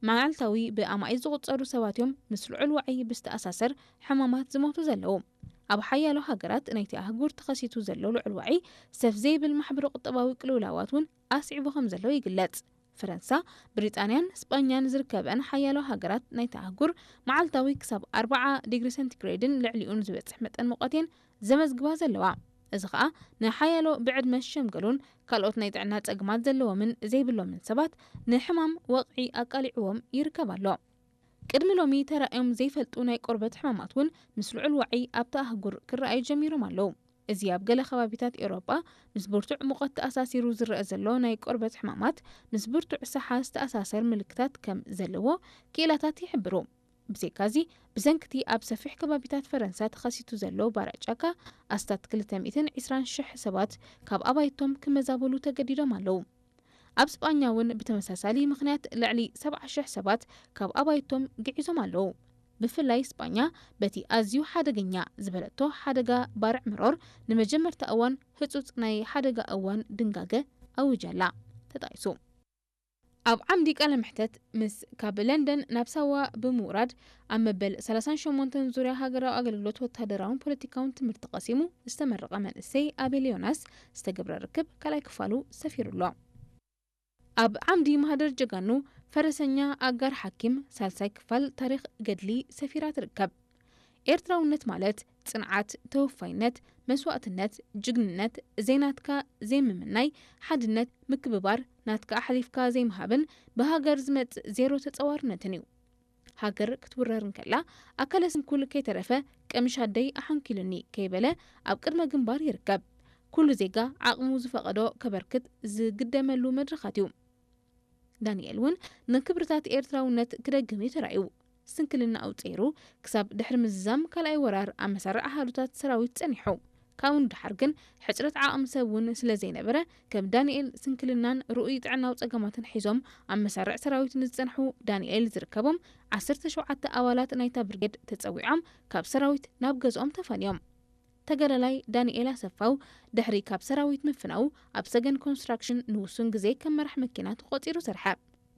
መዓልታዊ ብኣማኢት ዝቑጸሩ ሰባት እዮም ምስ ልዑል ዋዒ ብዝተኣሳሰር ሕማማት ዝሞቱ ዘለዉ። ኣብ ሓያሎ ሃገራት ናይቲ ኣህጉር ተኸሲቱ ዘሎ ልዑል ዋዒ ሰፍ ዘይብል ማሕበረ ቁጠባዊ ቅልውላዋት እውን ኣስዒቡ ከም ዘሎ ይግለጽ። ፈረንሳ፣ ብሪጣንያን ስጳኛን ዝርከበን ሓያሎ ሃገራት ናይቲ ኣህጉር መዓልታዊ ክሳብ ኣርብዓ ዲግሪ ሰንቲግሬድን ልዕሊኡን ዝበጽሕ መጠን ሙቐት እየን ዘመዝግባ ዘለዋ። እዚ ኸኣ ንሓያሎ ብዕድመ ዝሸምገሉን ካልኦት ናይ ጥዕና ጸግማት ዘለዎምን ዘይብሎምን ሰባት ንሕማም ወቕዒ ኣቃሊዕዎም ይርከብ ኣሎ። ቅድሚ ሎሚ ተራእዮም ዘይፈልጡ ናይ ቆርበት ሕማማት እውን ምስ ልዑል ዋዒ ኣብቲ ኣህጉር ክረኣዩ ጀሚሮም ኣለዉ። እዚ ኣብ ገለ ከባቢታት ኤውሮጳ ምስ ብርቱዕ ሙቐት ተኣሳሲሩ ዝረአ ዘሎ ናይ ቆርበት ሕማማት ምስ ብርቱዕ ሰሓ ዝተኣሳሰር ምልክታት ከም ዘለዎ ክኢላታት ይሕብሩ። ብዘይካዚ፣ ብሰንክቲ ኣብ ሰፊሕ ከባቢታት ፈረንሳ ተኸሲቱ ዘሎ ባርዕ ጫካ ኣስታት ክልተ ሚእትን ዕስራን ሽሕ ሰባት ካብ ኣባይቶም ክመዛበሉ ተገዲዶም ኣለዉ። ኣብ ስጳኛ እውን ብተመሳሳሊ ምኽንያት ልዕሊ ሰብዓ ሽሕ ሰባት ካብ ኣባይቶም ግዒዞም ኣለዉ። ብፍላይ ስጳኛ በቲ ኣዝዩ ሓደገኛ ዝበለቶ ሓደጋ ባርዕ መሮር ንመጀመርታ እዋን ህጹጽ ናይ ሓደጋ እዋን ድንጋገ ኣዊጃ ኣላ። ተጣይሱ። ኣብ ዓምዲ ቃለ መሕተት ምስ ካብ ለንደን ናብ ሳዋ ብምውራድ ኣብ መበል ሰላሳን ሸሞንተን ዙርያ ሃገራዊ ኣገልግሎት ወታደራውን ፖለቲካውን ትምህርቲ ቀሲሙ ዝተመረቐ መንእሰይ ኣቤል ዮናስ ዝተገብረ ርክብ ካልኣይ ክፋሉ ሰፊሩ ኣሎ። ኣብ ዓምዲ ማህደር ጀጋኑ ፈረሰኛ ኣጋር ሓኪም ሳልሳይ ክፋል ታሪኽ ገድሊ ሰፊራ ትርከብ። ኤርትራውነት ማለት ጽንዓት፣ ተወፋይነት፣ መስዋእትነት፣ ጅግንነት፣ ዘይናትካ ዘይምምናይ፣ ሓድነት፣ ምክብባር፣ ናትካ ኣሕሊፍካ ዘይምሃብን ብሃገር ዝመጽእ ዜሮ ተጸዋርነትን እዩ። ሃገር ክትውረር እንከላ ኣካለ ስንኩል ከይተረፈ ቀምሽ ኣደይ ኣሓንኪሉኒ ከይበለ ኣብ ቅድመ ግንባር ይርከብ። ኩሉ ዜጋ ዓቕሙ ዝፈቐዶ ከበርክት ዝግደመሉ መድረኻት እዩ። ዳንኤል እውን ንክብርታት ኤርትራውነት ክደግም እዩ ተራእዩ። ስንክልናኡ ጸይሩ ክሳብ ድሕሪ ምዝዛም ካልኣይ ወራር ኣብ መሳርዕ ኣሃዱታት ሰራዊት ጸኒሑ። ካብኡ ንደሓር ግን ሕጽረት ዓቕሚ ሰብ እውን ስለ ዘይነበረ ከም ዳንኤል ስንክልናን ርኡይ ጥዕናዊ ጸገማትን ሒዞም ኣብ መሳርዕ ሰራዊት ንዝጸንሑ ዳንኤል ዝርከቦም ዓሰርተ ሸውዓተ ኣባላት ናይታ ብርጌድ ተጸዊዖም ካብ ሰራዊት ናብ ገዝኦም ተፋንዮም። ተጋዳላይ ዳንኤል ኣሰፋው ድሕሪ ካብ ሰራዊት ምፍናው ኣብ ሰገን ኮንስትራክሽን ንውሱን ግዜ ከም መራሕ መኪና ተቖጺሩ ሰርሐ።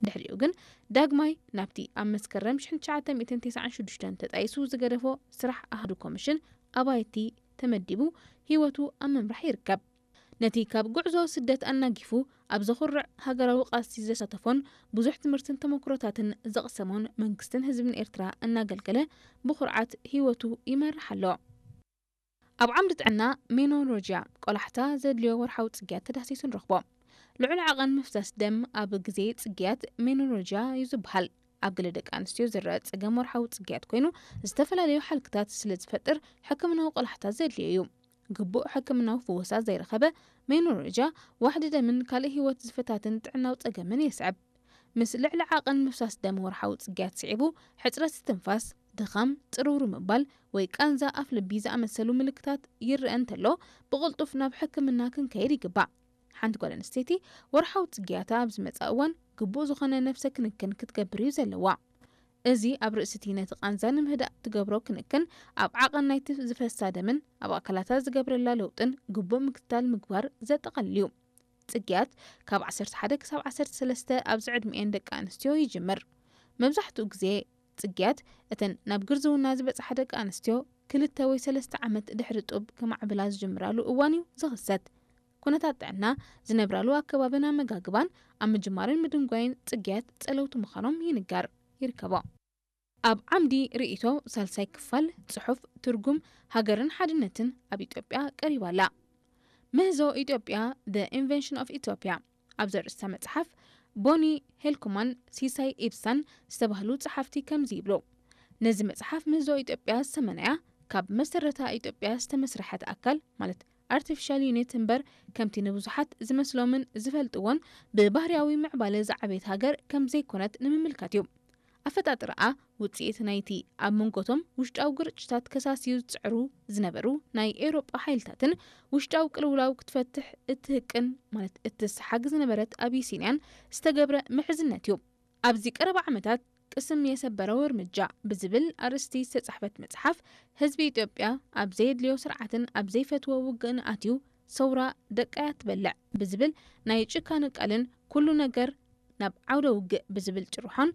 ድሕሪኡ ግን ዳግማይ ናብቲ ኣብ መስከረም ሽሕን ትሽዓተ ሚእትን ተስዓን ሽዱሽተን ተጣይሱ ዝገደፎ ስራሕ ኣሃዱ ኮሚሽን ኣባይቲ ተመዲቡ ህይወቱ ኣብ ምምራሕ ይርከብ። ነቲ ካብ ጉዕዞ ስደት ኣናጊፉ ኣብ ዘኹርዕ ሃገራዊ ቃልሲ ዘሳተፎን ብዙሕ ትምህርትን ተመክሮታትን ዘቕሰሞን መንግስትን ህዝብን ኤርትራ እናገልገለ ብኹርዓት ህይወቱ ይመርሕ ኣሎ። ኣብ ዓምዲ ጥዕና ሜኖሎጅያ ቆላሕታ ዘድልዮ ወርሓዊ ጽግያት ተዳህሲሱ ንረኽቦ። ልዑል ዓቐን ምፍሳስ ደም ኣብ ግዜ ጽግያት ሜኖሎጅያ እዩ ዝበሃል። ኣብ ገለ ደቂ ኣንስትዮ ዝረአ ጸገም ወርሓዊ ጽግያት ኮይኑ ዝተፈላለዩ ሓልክታት ስለ ዝፈጥር ሕክምናዊ ቆላሕታ ዘድልዮ እዩ። ግቡእ ሕክምናዊ ፍወሳ ዘይረኸበ ሜኖሎጅያ ዋሕዲ ደምን ካልእ ህይወት ዝፈታትን ጥዕናዊ ጸገምን የስዕብ። ምስ ልዕሊ ዓቐን ምፍሳስ ደም ወርሓዊ ጽግያት ስዒቡ ሕጽረት ስትንፋስ፣ ድኻም፣ ጽርውር ምባል ወይ ቃንዛ ኣፍ ልቢ ዝኣመሰሉ ምልክታት ይረአ እንተሎ ብቕልጡፍ ናብ ሕክምና ክንከይድ ይግባእ። ሓንቲ ጓል ኣንስተይቲ ወርሓዊ ጽግያታ ኣብ ዝመጽኣ እዋን ግቡእ ዝኾነ ነፍሰ ክንክን ክትገብር እዩ ዘለዋ። እዚ ኣብ ርእሲ እቲ ነቲ ቃንዛ ንምህዳእ ትገብሮ ክንክን ኣብ ዓቐን ናይቲ ዝፈሳ ደምን ኣብ ኣካላታ ዝገብረላ ለውጥን ግቡእ ምክትታል ምግባር ዘጠቓልል እዩ። ጽግያት ካብ ዓሰርተ ሓደ ክሳብ ዓሰርተ ሰለስተ ኣብዚ ዕድሚኤን ደቂ ኣንስትዮ ይጅምር። መብዛሕትኡ ግዜ ጽግያት እተን ናብ ግርዝውና ዝበጽሓ ደቂ ኣንስትዮ ክልተ ወይ ሰለስተ ዓመት ድሕሪ ጡብ ክማዕብላ ዝጅምራሉ እዋን እዩ ዝኽሰት። ኩነታት ጥዕና፣ ዝነብራሉ ኣከባብን ኣመጋግባን ኣብ ምጅማርን ምድንጓይን ጽግያት ጸለውቲ ምዃኖም ይንገር ይርከቦ። ኣብ ዓምዲ ርእይቶ ሳልሳይ ክፋል ጽሑፍ ትርጉም ሃገርን ሓድነትን ኣብ ኢትዮጵያ ቀሪባ ኣላ። ምህዞ ኢትዮጵያ፣ The Invention of Ethiopia፣ ኣብ ዘርእስታ መጽሓፍ ቦኒ ሄልኮማን ሲሳይ ኢብሳን ዝተባህሉ ጸሓፍቲ ከምዚ ይብሉ። ነዚ መጽሓፍ ምህዞ ኢትዮጵያ ዝተመነያ ካብ መሰረታ ኢትዮጵያ ዝተመስረሐት ኣካል ማለት ኣርቲፊሻል ዩኒት እምበር ከምቲ ንብዙሓት ዝመስሎምን ዝፈልጥዎን ብባህርያዊ ምዕባለ ዝዓበየት ሃገር ከም ዘይኮነት ንምምልካት እዩ። ኣፈጣጥራኣ ውጽኢት ናይቲ ኣብ መንጎቶም ውሽጣዊ ግርጭታት ከሳስዩ ዝጽዕሩ ዝነበሩ ናይ ኤውሮጳ ሓይልታትን ውሽጣዊ ቅልውላው ክትፈትሕ እትህቅን ማለት እትሰሓግ ዝነበረት ኣቢሲንያን ዝተገብረ ምሕዝነት እዩ። ኣብዚ ቀረባ ዓመታት ቅስም የሰበረው እርምጃ ብዝብል ኣርእስቲ ዝተጻሕፈት መጽሓፍ ህዝቢ ኢትዮጵያ ኣብ ዘየድልዮ ስርዓትን ኣብ ዘይፈትዎ ውግእን ኣትዩ ሰውራ ደቃያ ትበልዕ ብዝብል ናይ ጭካነ ቃልን ኩሉ ነገር ናብ ዓውደ ውግእ ብዝብል ጭርሖን